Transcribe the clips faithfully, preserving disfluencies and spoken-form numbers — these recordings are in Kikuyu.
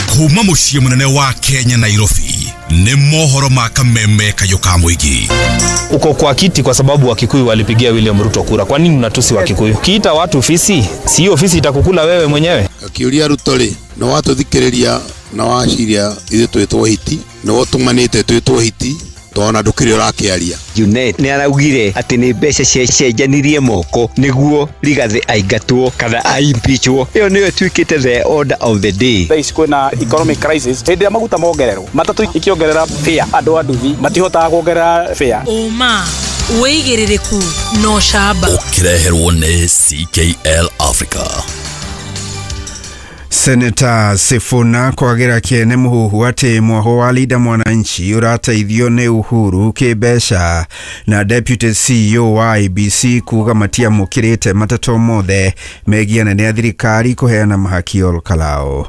Kuma muciĩ munene wa Kenya Nairobi ni mohoro ma kameme kayo ka muingi. Uko kwa kiti kwa sababu Wakikuyu walipigia William Ruto kura. Kwa nini unatusi Wakikuyu? Kiita watu fisi, si hiyo fisi itakukula wewe mwenyewe. Akiuria Ruto ri no watuthikiriria na waciria ithuĩ twĩtwo hiti, no ũtũmanĩte twĩtwo hiti tona ndukiri urakiaria. Junet ni araugire ati ni mbeca ciacenjanirie moko niguo Rigathi aingatwo kana aimpeachwo. Iyo niyo ituikite the order of the day. Thaa ici kwina economic crisis, hindi ria maguta mongererwo matatu ikiongerera fare, andu a nduthi matihotaga kuongerera fare. Uma wigiririku no shamba ukireherwo ni C K L Africa. Senator Sifuna kwagira kiene muhuhu ati mwaho wa Linda Mwananchi urateithio ni Uhuru kimbeca na Deputy C E O wa I B C kuga matiamukirite matatu mothe megie anene a thirikari kuheana mahaki Olkalou.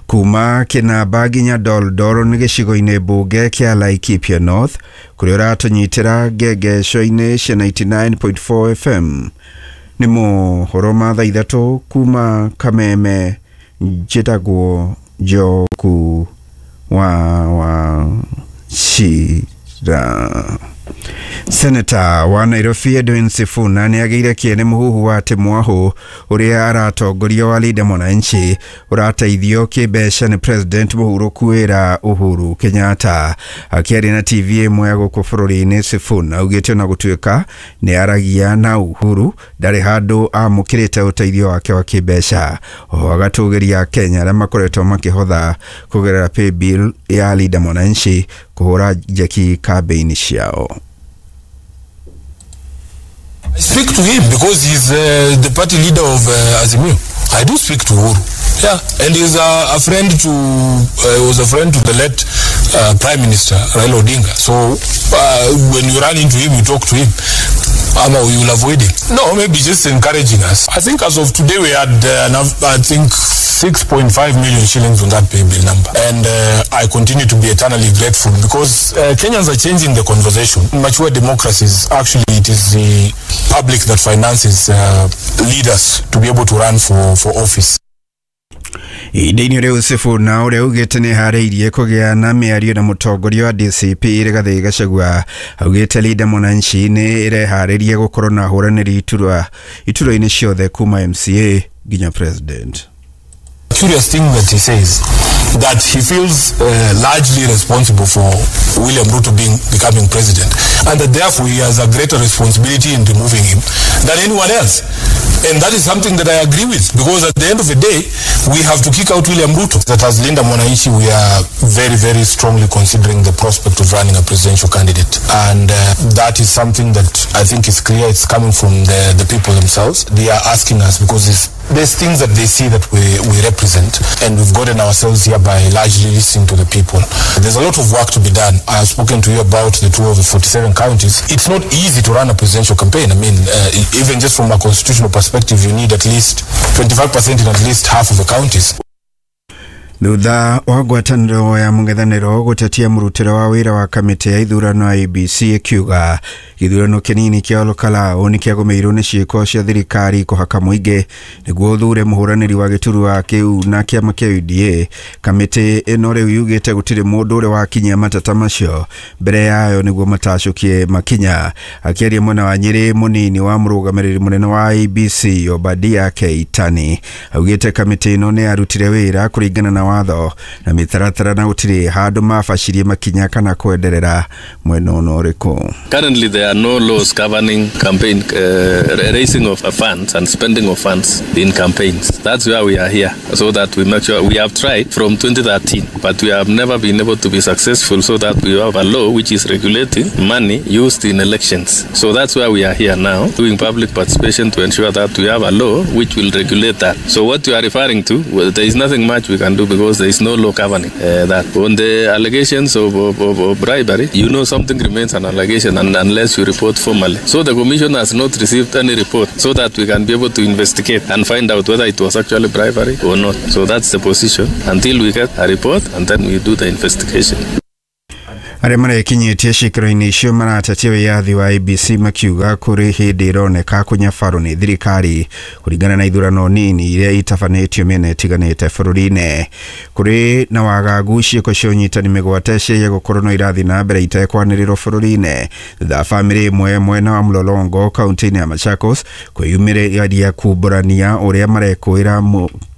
Kuma Kinamba nginya Doldoro ni gicigo-ini bunge kia Laikipia North kuria uratunyitira ngengesho-ini cia ninety-nine point four F M. Ni mohoro ma thaa ithatu kuma Kameme. Njĩtagwo Njoku wa wa Shira. Senator wa Nairobi Edwin Sifuna nĩagĩire kĩene mũhuhu wa atĩ mwahu ũrĩa aratongoria wa Linda Mwananchi ũrateithio kĩmbeca nĩ President mũhurũku wĩra Uhuru Kenyatta. Akĩaria na T V ĩmwe ya gũkũ bũrũri-inĩ, Sifuna augĩte ona gũtuĩka nĩ aragia na Uhuru ndarĩ handũ amũkĩrĩte ũteithio wake wa kĩmbeca. Oho agatũgĩria Kenya arĩa makoretwo makĩhotha kũgerera paybill ya Linda Mwananchi kũhũra njeki kambĩini ciao. I speak to him because he's uh, the party leader of uh, Azimio. I do speak to Uhuru. Yeah, and he's a, a friend to, uh, was a friend to the late uh, Prime Minister Raila Odinga. So uh, when you run into him, you talk to him. Ama we will avoid him. No, maybe just encouraging us. I think as of today we had, uh, I think, six point five million shillings on that pay bill number. And uh, I continue to be eternally grateful because uh, Kenyans are changing the conversation. In mature democracies, actually it is the public that finances uh, leaders to be able to run for, for office. Ihinda-inĩ rĩu Sifuna ũrĩa augĩte nĩ harĩirie kũgĩa na mĩario na mũtongoria wa D C P Rigathi Gachagua augĩte Linda Mwananchi nĩ ĩreharĩria gũkorwo na ahũranĩri iturwa iturwa-inĩ ciothe kuma M C A nginya President. Curious thing that he says that he feels uh, largely responsible for William Ruto being becoming president, and that therefore he has a greater responsibility in removing him than anyone else. And that is something that I agree with, because at the end of the day, we have to kick out William Ruto. That as Linda Mwananchi, we are very, very strongly considering the prospect of running a presidential candidate. And uh, that is something that I think is clear. It's coming from the, the people themselves. They are asking us because it's, there's things that they see that we, we represent, and we've gotten ourselves here by largely listening to the people. There's a lot of work to be done. I have spoken to you about the tour of the forty-seven counties. It's not easy to run a presidential campaign. I mean, uh, even just from a constitutional perspective, you need at least twenty-five percent in at least half of the counties. Thutha wa ngwatanĩro ya mũng'ethanĩro gũtetia mũrutĩre wa wĩra wa kamĩtĩ ya ithurano I B C ĩkiuga gĩthurano kĩnini kĩa Olkalou nĩ kĩagũmĩirwo nĩ ciĩko cia thirikari kũhaka mũingĩ nĩguo ũthure mũhũranĩri wa gĩturwa kĩu na kĩama kĩa U D A. Kamĩtĩ ĩno rĩu yugĩte gũtirĩ mũndũ ũrĩa wakinyia mateta macio mbere yayo nĩguo matacũkie makinya. Akĩaria mwena wa Nyĩrĩ, mũnini wa mũrũgamĩrĩri mũnene wa I B C Obadia Keitani augĩte kamĩtĩ ĩno nĩ yarutire wĩra kũringana na watho na mĩtaratara na gũtirĩ handũ mabacirie makinya kana kwenderera mwena ona ũrĩkũ. Currently there are no laws governing campaign uh, raising of funds and spending of funds in campaigns. That's why we are here, so that we make sure. We have tried from twenty thirteen, but we have never been able to be successful, so that we have a law which is regulating money used in elections. So that's why we are here now, doing public participation to ensure that we have a law which will regulate that. So what you are referring to, well, there is nothing much we can do because there is no law governing uh, that. On the allegations of, of, of, of bribery, you know, something remains an allegation and unless you report formally. So the commission has not received any report so that we can be able to investigate and find out whether it was actually bribery or not. So that's the position until we get a report and then we do the investigation. Arĩa marekinyĩtie ciikaro-inĩ icio maratetia wĩyathi wa I E B C makiuga kũrĩ hĩndĩ ĩroneka kũnyabarwo nĩ thirikari kũringana na ithurano nini iria itabanĩtio mĩena ĩtiganĩte bũrũri-inĩ. Kũrĩ na wagagu ciĩko cia ũnyitani mĩgwate ciaia gũkorwo no irathiĩ na mbere itekwanĩrĩrwo bũrũri-inĩ thutha wa bamĩrĩ ĩmwe mwena wa Mlolongo kaunti-inĩ ya Machakos kwĩyumĩria kumbũrania ũrĩa marekũĩra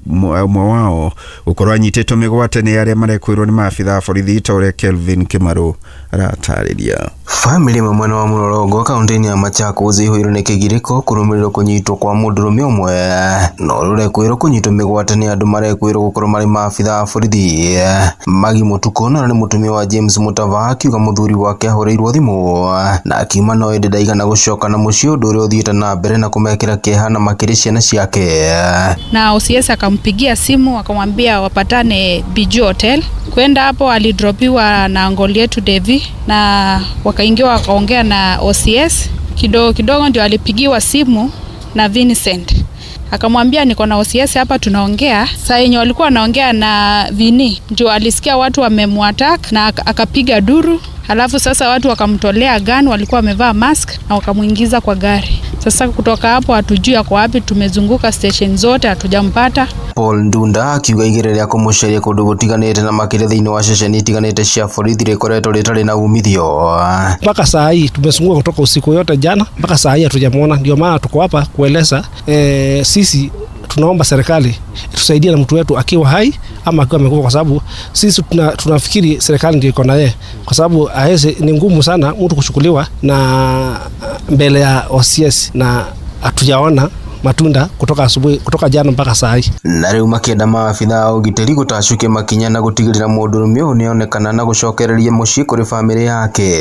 ũmwe wao gũkorwo anyitĩtwo mĩgwate nĩ arĩa marekwĩrwo nĩ maabitha a borithi ta ũrĩa Kelvin Kimaru aratarĩria. Bamĩrĩ ĩmwe mwena wa Mlolongo kaunti-inĩ ya Machakos ĩihũirwo nĩ kĩgirĩko kũrũmĩrĩrwo kũnyitwo kwa mũndũrũme ũmwe na ũrĩa ũrekwĩrwo kũnyitwo mĩgwate nĩ andũ marekwĩrwo gũkorwo marĩ maabitha a borithi. Magi Mũtukũ na nĩ mũtumia wa James Mutava akiuga mũthuri wake ahũrĩirwo thimũ na akiuma no ĩndĩ ndaigana gũcoka na mũciĩ, ũndũ ũrĩa ũthiĩte na mbere na kũmekĩra kĩeha na makĩria ciana ciake. Na O C S akampigia simu akamwambia wapatane Biju Hotel. Kwenda hapo alidropiwa na ngoli yetu Devi na wakaingia wakaongea na O C S. Kidogo kidogo ndio alipigiwa simu na Vincent. Akamwambia niko na O C S hapa tunaongea. Saa yenye walikuwa wanaongea na Vini ndio alisikia watu wamemwattack na akapiga duru. Halafu sasa watu wakamtolea gun, walikuwa wamevaa mask na wakamuingiza kwa gari. Sasa kutoka hapo hatujui ako wapi, tumezunguka station zote hatujampata. Paul Ndunda akiuga igĩrĩ rĩa kũmũcaria kũndũ gũtiganĩte na makĩria thĩinĩ wa ceceni itiganĩte cia borithi rĩkoretwo rĩtarĩ na umithio. Mpaka saa hii tumezunguka kutoka usiku yote jana mpaka saa hii hatujamuona, ndio maana tuko hapa kueleza e, sisi tunaomba serikali tusaidie na mtu wetu akiwa hai ama akiwa amekufa, kwa sababu sisi tuna, tunafikiri serikali ndio iko na yeye, kwa sababu haiwezi, ni ngumu sana mtu kuchukuliwa na mbele ya O C S na hatujaona matunda kutoka asubuhi, kutoka jana mpaka saa hii. Na rĩu makĩenda maabitha a ũgitĩri gũtacukia makinya na gũtigĩrĩra mũndũrũme ũyũ nĩonekana na gũcokereria mũciĩ kũrĩ bamĩrĩ yake.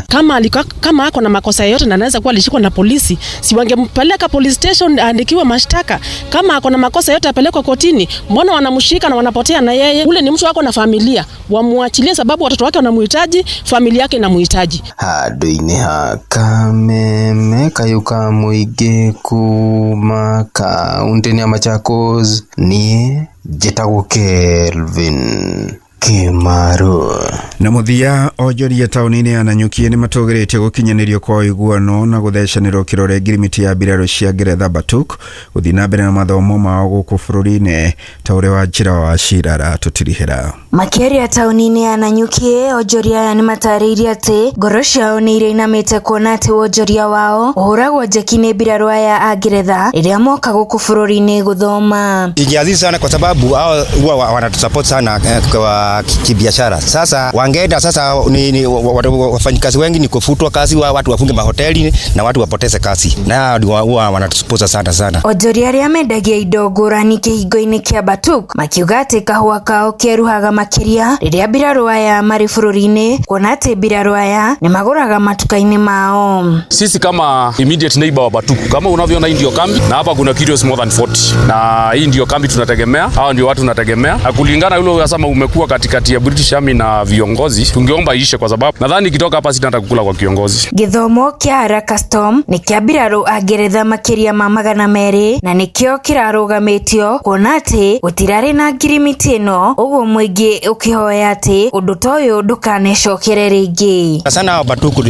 Kama alikuwa, kama ako na makosa yote na anaweza kuwa alishikwa na polisi, si wangempeleka police station aandikiwe mashtaka? Kama ako na makosa yote apelekwe kotini. Mbona wanamshika na wanapotea na yeye? Ule ni mtu wako na familia, wamuachilie sababu watoto wake wanamuhitaji, familia yake inamuhitaji. Handũ-inĩ ha Kameme Kayuka mũingĩ kuma kaunti ya Machakos, niĩ njĩtagwo Kelvin Kimaru. Na mũthia onjoria taũni-inĩ ya Nanyuki nĩ matũgĩrĩtie gũkinyanĩrio kwa ũiguano na gũthecanĩrwo kĩrore ngirimiti ya mbirarũ cia Ngeretha Batuk gũthiĩ na mbere na mathomo mao gũkũ bũrũri-inĩ ta ũrĩa wa njĩra wa Cira aratũtirihĩra. Makĩaria taũni-inĩ ya Nanyuki, onjoria aya nĩ matarĩirie atĩ ngoro ciao nĩ irainamĩte kuona atĩ wonjoria wao ũhũragwo njeki nĩ mbirarũ aya a Ngeretha rĩrĩa moka gũkũ bũrũri-inĩ gũthoma. Ingiazizi sana kwa sababu hao huwa wanatusupport sana kwa kibiashara. Sasa wangeenda sasa ni, ni wafanyikazi wengi ni kufutwa kazi, wa watu wafunge mahoteli na watu wapoteze kazi. Na huwa wanatusupport sana sana. Onjoria arĩa mendagia indo ngũrani kĩhingo-inĩ kĩa Batuk makiuga atĩ kahũa kao keruhaga makĩria rĩrĩa mbirarũ aya marĩ bũrũri-inĩ, kuona atĩ mbirarũ aya nĩ magũraga matuka-inĩ mao. Sisi kama immediate neighbor wa Batuk, kama unavyoona hii ndio kambi na hapa kuna kilos more than forty, na hii ndio kambi tunategemea, hao ndio watu tunategemea. Na kulingana yule unasema umekuwa katikati ya British Army na viongozi, tungeomba iishe kwa sababu nadhani ikitoka hapa sitata kukula kwa kiongozi. Gĩthomo kĩa Haraka Storm nĩ kĩa mbirarũ a Ngeretha makĩria ma magana merĩ na nĩkĩo kĩrarũgamĩtio kuona atĩ gũtirarĩ na ngirimiti ĩno, ũguo mũingĩ ũkĩhoya atĩ ũndũ ta ũyũ ndũkanecokere rĩngĩ. Sana Batuku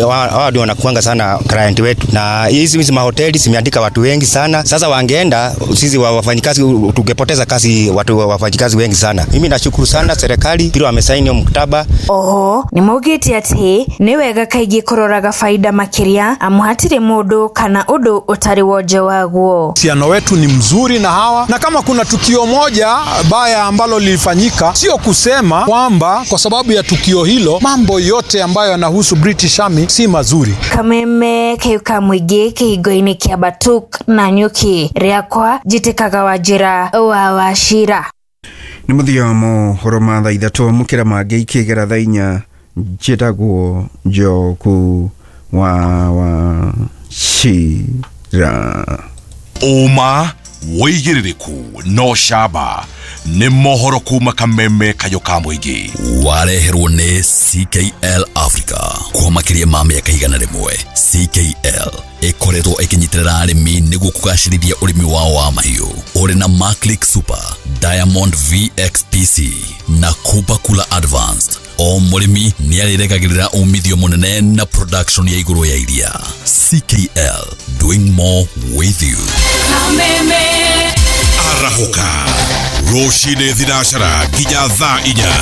wao ndio wanakuanga sana client wetu, na hizi hizi mahoteli zimeandika watu wengi sana. Sasa wangeenda sisi wafanyikazi tungepoteza kazi, watu wafanyikazi wengi sana. Mimi nashukuru sana serikali bila wamesaini mkataba. Oho nĩ maugĩte atĩ nĩ wega kaingĩ kũroraga faida makĩria amu hatirĩ mũndũ kana ũndũ ũtarĩ wonje waguo. Uhusiano wetu ni mzuri na hawa, na kama kuna tukio moja baya ambalo lilifanyika, sio kusema kwamba kwa sababu ya tukio hilo mambo yote ambayo yanahusu British Army si mazuri. Kameme Kayuka mũingĩ kĩhingo-inĩ kĩa Batuk na Nyuki rĩakwa njĩtĩkaga Wanjĩra wa Wachira. Nĩ mũthia wa mohoro ma thaa ithatũ amũkĩra mangĩ ikĩgera thaa inya. Njĩtagwo Njoku wa Wachira. Ũma wĩigĩrĩrĩku no camba nĩ mohoro kuma Kameme Kayũ ka mũingĩ wareherwo nĩ C K L Africa kwa makĩria ma mĩaka igana rĩmwe. C K L ĩkoretwo ĩkĩnyitĩrĩra arĩmi nĩguo kũgacĩrithia ũrĩmi wao wa mahiũ ũrĩ na Maclick Super, Diamond V X P C na Kuba Kula Advanced. O mũrĩmi nĩarĩrekagĩrĩra umithio mũnene na production ya igũrũ ya iria. C K L, doing more with you. Kameme. Arahũka rũcinĩ thinacara nginya thaa inya.